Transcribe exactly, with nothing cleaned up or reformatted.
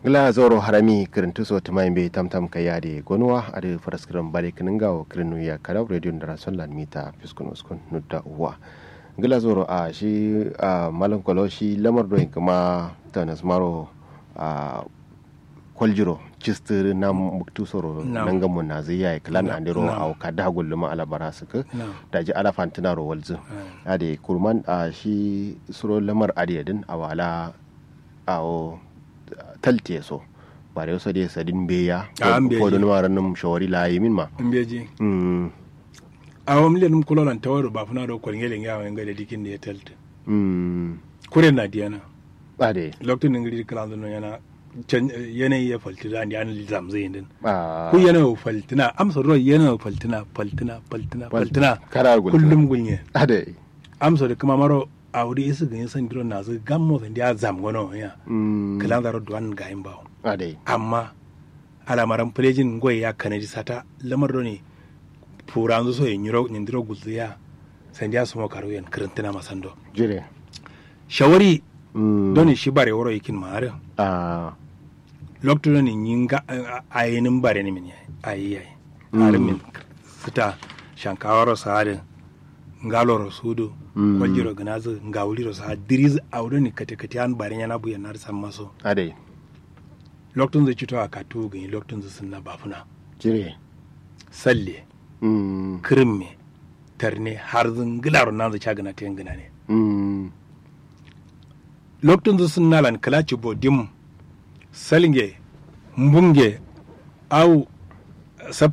Ngla zauro harami kǝrǝntu so tǝma yimbe tamtam kaiya de gonuwa adǝ faraskǝram bare kǝnǝngawo kǝrǝnnuwiya karau radio ndara sonlan mita fiskun uskun nudda uwa. Ngla zauro a shi a malam kolo shi lamar doyin kǝma tanas maro a koljiro cistǝ na muktu soro nangamo nazǝ yayi kǝlan andero awo kada gulluma alabara sǝkǝ. Daji ala fantǝnaro walzǝ. Ade kurman a shi suro lamar adǝ yadǝn awala awo taltiye so. Bare so de sadin mbeya. Kodun waran num shawari la yimin ma. Mbeji. Awo mle num kulolan tawaro bafuna do kolngele nge awo ngade dikin de talti. Kure na diyana. Ade loktu ningiri klan no yana. Yanayi ya falti da ndi an zamzai din. Ku yanayi faltina amsa do yanayi faltina faltina faltina faltina. Kullum gulnye. Ade amso da kǝma maro awo dǝ isǝ gǝnyi sandiro nazǝ gammo sandiya zamgono ya. Kǝlanzaro duwan gayin bawo. Amma alamaran pǝlejin ngoye ya kanadi sata lamar done. Furanzǝ soye nyiro nyindiro gulzǝ ya. Sandiya sumo karu yen kǝrǝntǝna masando. Jire shawari. Done shi bare woro yikin ma adǝ. Loktu done nyinga ayinǝm bare nimin yayi ayi yayi. Adǝ min sǝta shankawaro sa adǝ. Ngaloro sudu. Kwaljiro gǝnazǝ ngawuliro sa diriz awo done kate kate an bare nyana buyen adǝ sammaso. Adai loktunzǝ cito a kattuwu gǝnyi loktunzǝ sǝnna bafuna. Jire salle. Kǝrǝmme tarne harzǝ ngǝlaro nanzǝ ca gǝna ten gǝnane. Loktunzǝ sǝnnalan kǝla cibbo dim. Salnge mbunge awu. Sab